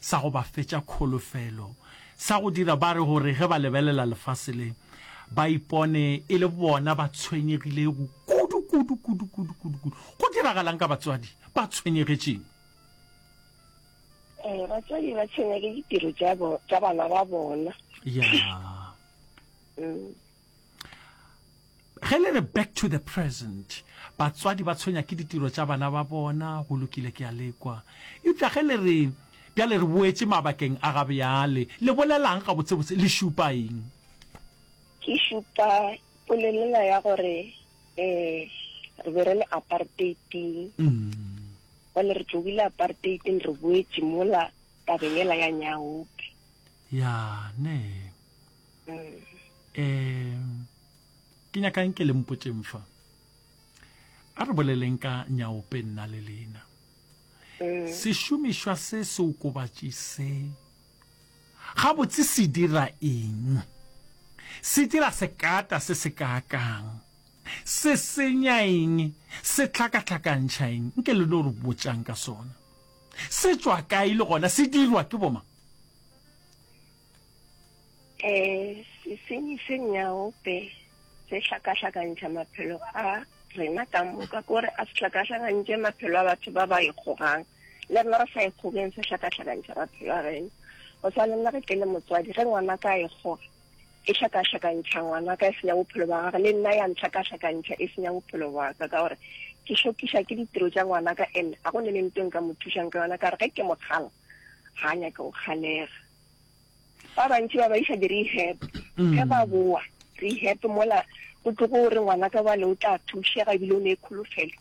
sa go ba fetša kholofelo, sa go dira ba re gore ge ba lebelela lefase le, ba ipone e le bona ba tshwenyegilego kudu, kudu, kudu, kudu, kudu, kudu. Go diragalang ka batswadi ba tshwenyegetšeng? Eh, batswadi ba tshwenya ke ditiro tša bo, tša bana ba bona. Ya. Mm. Ge le re back to the present, batswadi ba tshwenya ke ditiro tša bana ba bona, go lokile ke a le kwa. Eupša ge le re bjale re boetše mabakeng a ga bjale, le bolelang gabotsebotse, le šupa eng? Ke šupa polelela ya gore um re be re le apartheid-ing. Bjale re tlogile apartheid-ing re boetše mola tabeng yela ya nyaope. Ya, ne. Um ke nyaka nke le mpotšeng fa. A re boleleng ka nyaope nna le lena. Mm. Sešomišwa se seokobatši se gabotse se dira eng? Se dira sekata se se kaakang? Se senya eng? Se hlakahlakantšha eng? Nke le no re botšang ka sona. Se tšwa kae le gona se dirwa ke bomang? Um sesenyi se nyaope se hlakahlakantšha maphelo a rena ka moka, kore a se hlakahlakantše maphelo a batho ba ba ikgogang, le rena re sa ikgogeng se hlakahlakantšha maphelo a rena. Go swana le nna ge ke le motswadi, ge ngwanaka a ikgoga, e hlakahlakantšha ngwanaka, e senya bophelo bja gagwe, le nna ya ntlhakahlakantšha, e senya bophelo bwa ka, ka gore ke šokiša ke ditiro tša ngwanaka and ga go ne le nto nka mo thušang ka yona, ka gore ge ke mo kgala ga a nyake go kgalega. Ba bantši ba ba iša di-rehab. Ge ba boa rehab mola go tlogo re ngwana ka bale o tla thušega ebile o ne kholofelo,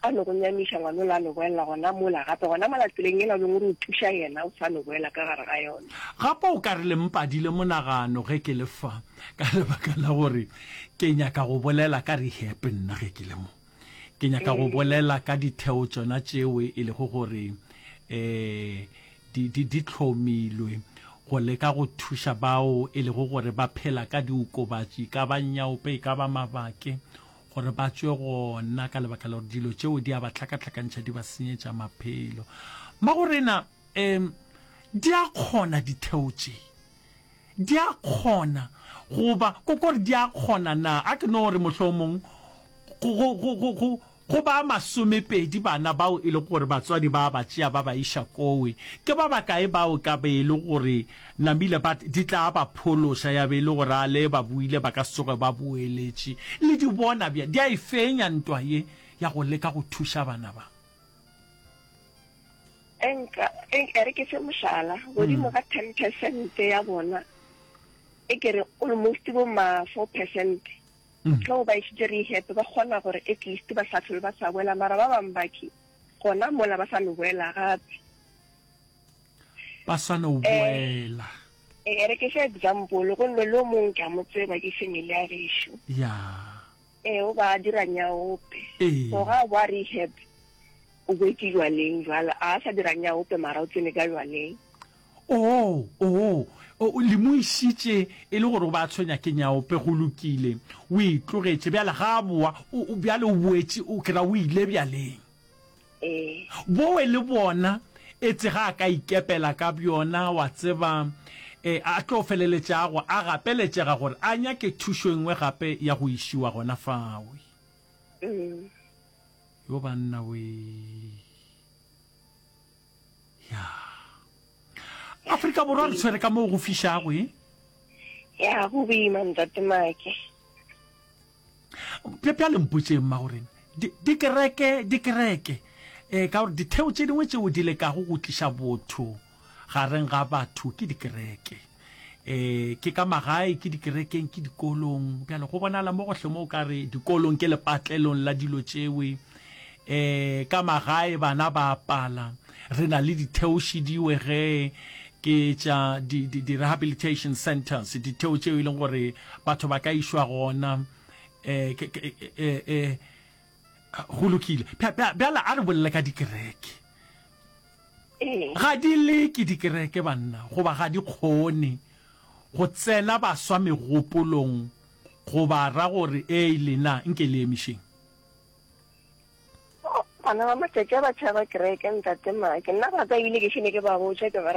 a no go nyamiša ngwana ola a no boelela gona mola gape gona mola tseleng yela o beng o re o thuša yena o sa no boela ka gare ga yona. Gape o ka re le mpadile monagano ge ke le fa ka lebaka la gore ke nyaka go bolela ka rehab nna ge ke le mo. Ke nyaka go bolela ka ditheo tšona tšeo e lego gore um di, di, di hlomilwe go leka go thuša bao e lego gore ba phela ka diokobatši, e ka ba nyaope, e ka ba mabake, gore ba tšwe gona ka lebaka la gore dilo tšeo di a ba hlakahlakantšha, di ba senyetša maphelo. Mmagorena, um di a kgona ditheo tše? Di a kgona goba ko kore di a kgona na? A ke no re mohlomong go, go, go, go, go, go ba masomepedi bana bao e lego gore batswadi ba ba tšea ba ba iša kowe. Ke ba bakae bao ka be e le gore namile ba di tla ba phološa ya be e le gore a le ba boile ba ka se tsoge ba boeletše. Le di bona bjang? Di a e fenya ntwa ye ya go leka go thuša bana ba. Enka, e re ke fe mohlala, godimo ga 10 percent ya bona, e ke re almost bo ma 4 percent, ge o ba išitše rehab ba kgona gore at least ba sa hlole ba sa boela, mara ba bangwe ba ke gona mola ba sa no boela gape. Ba sa no boela. E re ke fe example, go nne le o mongwe ke a mo tseba, ke family ya gešo. Ya. Ee, o ba dira nyaope. Ee. So ga a boa rehab, O boetše jwaleng jwale, a sa dira nyaope mara o tsene ka jwaleng. Oo, oo, o, le mo išitše e le gore o ba a tshwenya ke nyaope, go lokile, o e tlogetše. Bjale ga a boa, o, o, bjale o boetše, o ke ra o ile bjaleng. Ee. Bowe le bona, etse ga a ka ikepela ka bjona, wa tseba, e, a tlo feleletšago a gapeletšega gore a nyake thušo e nngwe gape ya go išiwa gona fawe. Mm. Yo banna wee. Ya. Afrika Borwa re tshwere ka moo go fišago e. Ya go boima ntate Make. Bjale mpotšeng mma gore dikereke dikereke eh ka gore ditheo tše dingwe tšeo di lekago go tliša botho gareng ga batho ke dikereke. E, ke ka magae, ke dikerekeng, ke dikolong. Bjale go bonala mo gohle mo o ka re dikolong ke lepatlelong la dilo tšewe. E, ka magae bana ba apala. Re na le ditheo šidiwe ge ke tša di-rehabilitation centers, ditheo tšeo e leng gore batho ba ka išwa gona. E, ke, ke, e, e, go lokile. Bjale a re bolele ka dikereke. Ga di leke dikereke banna goba ga di kgone go tsena baswa megopolong go ba ra gore ei lena nke le emišeng. Bana ba matšatši a ba tšhaba kereke ntate Make. Nna ba ka ebile ke šene ke ba botša ke ba re.